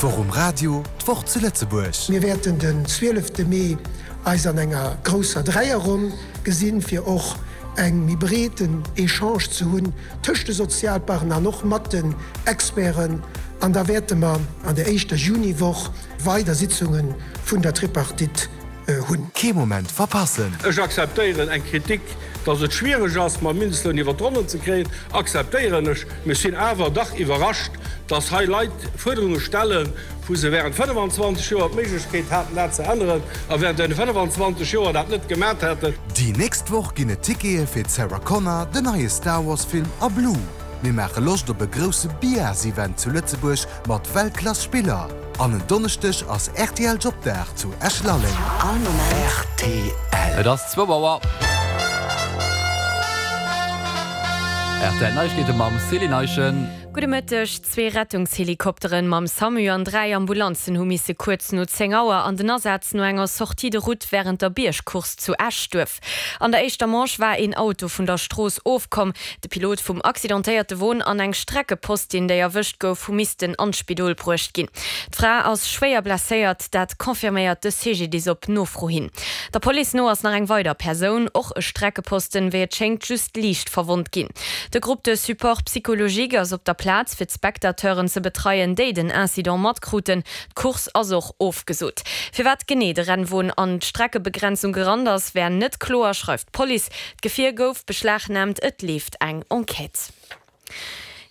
D'Woch um Radio, d'Woch zu Lëtzebuerg. Mir wäerten den 12 Mee eis an enger grousser Dräierronn gesinn, fir och eng méi breeten Echange ze hunn tëscht de Sozialpartner an och mat den Experten. An da wäerte mer an der éischter Juniwoch weider Sitzunge vun der Tripartite hunn. Kee Moment verpassen! Ech akzeptéieren eng Kritik, datt et schwiereg ass, mam Mindestloun iwwer d'Ronnen ze kréien, akzeptéieren ech. Mee ech sinn awer dach iwwerrascht, datt hei Leit Fuerderunge stellen, wou se während 25 Joer d'Méiglechkeet haten, dat ze änneren, a während deene 25 Joer dat net gemat hätten. Déi nächst Woch ginn et Tickete fir d'Sarah Connor, den neie Star Wars Film a Blue. Mir maache Loscht op e grousse Biars-Event zu Lëtzebuerg mat Weltklass Spiller. An en Donneschdeg ass rtl Jobdag zu Esch-Lalleng. Rtl. Et ass zwou Auer. Rtl Neiegkeete mam Céline Eischen. Gudde Mëtteg. Zwee Rettungshelikopteren mam Samu an 3 Ambulanzen hu misse kuerz no 10 Auer an den Asaz no enger Sortie de route wärend der Biergcourse zu Eschduerf. An der éischter Manche war een Auto vun der Strooss ofkomm. De Pilot vum accidentéierte Won an eng Streckepostin, déi erwëscht gouf, hu missten an d'Spidol bruecht ginn. D'Fra ass schwéier blesséiert, dat confirméiert de CGDIS op Nofro hin. Der Police no ass nach eng weider Persoun, och e Streckeposten, wéi et schéngt just liicht verwonnt ginn. De Groupe de support psychologique ass op der Plaz, fir d'Spectateuren ze betreien, déi den Incident matkruten. D'Course ass och ofgesot. Firwat genee de Rennwon an d'Streckebegrenzung gerannt ass, wär net kloer, schreift d'Police. D'Gefier gouf beschlagnaamt, et leeft eng Enquête.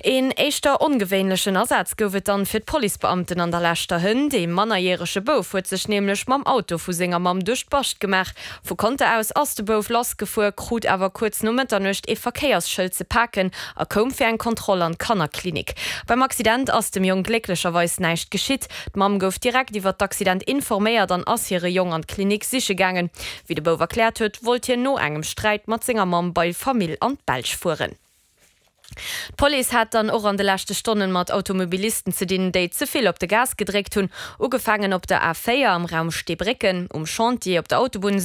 Een éischter ongewéinlechen Asaz gouf et dann fir d'Policebeamten an der leschter Hënt. Ee mannerjärege Bouf huet sech nämlech mam Auto vu senger Mamm duerch d'Bascht gemaach. Vu Conter aus ass de Bouf lassgefuer, krut awer kuerz no Mëtternuecht ee Verkéiersschëld ze paken a koum fir eng Kontroll an d'Kannerklinik. Beim Accident ass dem Jong glécklecherweis näischt geschitt. D'Mamm gouf direkt iwwer d'Accident informéiert an ass hire Jong an d'Klinik siche gaangen. Wéi de Bouf erkläert huet, wollt hien no engem Sträit mat senger Mamm bei Famill an d'Belsch fueren. D'Police hat dann och an de leschte Stonnen mat Automobilisten ze dinn, déi ze vill op de Gas gedréckt hunn. Ugefaangen op der A 4 am Raum Steebrécken, um Chantier op der Autobunn.